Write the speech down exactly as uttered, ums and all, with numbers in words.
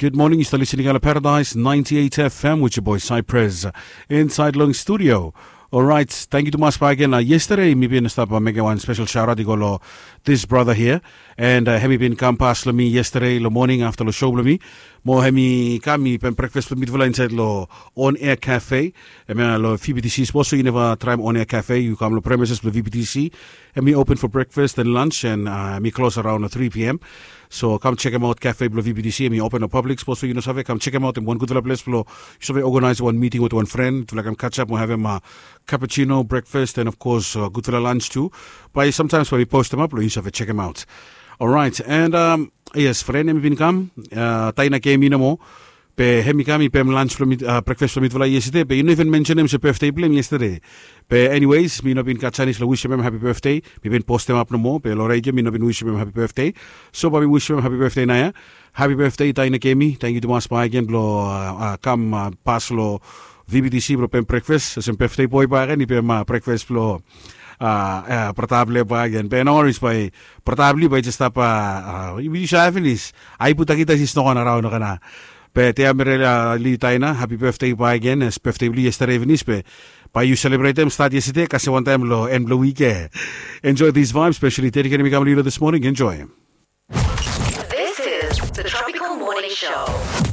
Good morning, yu stap listening long Paradise ninety-eight F M with your boy Cypress inside long studio. Alright, thank you tumas bak again. Uh, yesterday mi bin stap uh, mekim wan special shout out i go lo this brother here. And uh, hemi bin kam pas lo mi yesterday lo morning after lo show lo mi. Mo hemi kam i pen breakfast lo mi dufala inside lo On Air Cafe. Hemi uh, lo V B T C. Suppose you never try On Air Cafe, you come lo premises lo V B T C. Hemi open for breakfast and lunch and uh, hemi close around three p.m. So kam check him out cafe blo V B T C. Hemi open lo public. Suppose you no save, kam check him out. Hemi wan gudfala ples blo yu save organize wan meeting with wan friend. Dufala kam catch up mo have him uh, cappuccino breakfast and of course uh, gudfala lunch too. Bae sometimes bae mi post him up lo yu save check him out. Alright, and um, yes, friend hemi bin kam uh, Taina Kemi nomo. Be hemi kam i pem lunch blo mi uh, breakfast blo mi dufala yesterday be i no even mention him se birthday blo him yesterday. Be anyways, mi no bin gat chance lo wish him happy birthday. Mi bin post him up nomo be lo radio mi no bin wish him happy birthday. So bae mi wish him happy birthday naoia. Happy birthday Taina Kemi. Thank you tumas bak again blo uh, uh, kam uh, pas lo V B T C blo pem breakfast. Olsem birthday boy bak again i pem uh, breakfast blo uh, uh, brata blo bak again. Be no worries bae brata blo bae just stap uh, uh, yu save finis. Ai puta kita si snokan around kana. Be te amere uh, li Taina, happy birthday bak again. As birthday blo yesterday finis be bae yu celebrate him start yesterday kasi wan taem lo en blo wik. Enjoy these vibes, especially dedicated mi kam lo this morning. Enjoy. This is the Tropical Morning Show.